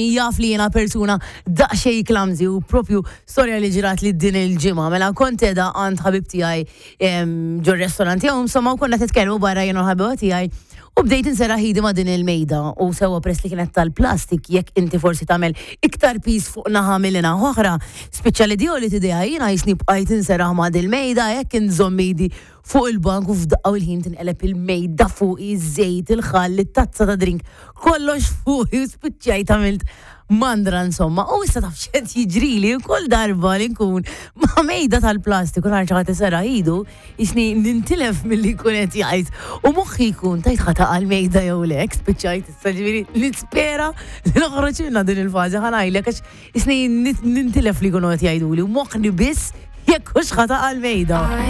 Jaf li jiena persuna daqsxejn clumsy u propju storja li ġrat li din il-ġimgħa. Mela kont qiegħda għand ħabib tiegħi ġo restorant jew insomma u konna nitkellmu barra jien u l-ħabiba tiegħi u bdejt inserraħ idi ma' din il-mejda u sewwa press li kienet tal-plastik jekk inti forsi tagħmel iktar piż fuq naħa milli naħa oħra, spiċċa li di li tidejha jiena jisni bqajt inserraħ ma' din il-mejda hekk inżomm idi fuq il-bank u f'daqqa u l-ħin tinqeleb il-mejda fuqi, iż-żejt, il-ħall, it-tazza ta' drink, kollox fuqi u spiċċajt għamilt mandra insomma. U issa taf x'qed jiġrili kull darba li nkun ma' mejda tal-plastik u nara xi ħadd iserraħ idu, jisni nintilef milli jkun qed jgħid. U moħħi jkun tajt ħa taqa' l-mejda jew le, hekk spiċċajt issa ġifieri nispera li noħroġ minnha din il-fażi ħa ngħidlek għax jisni nintilef li jkunu qed jgħiduli u moħħni biss jekk hux ħa taqa' l-mejda.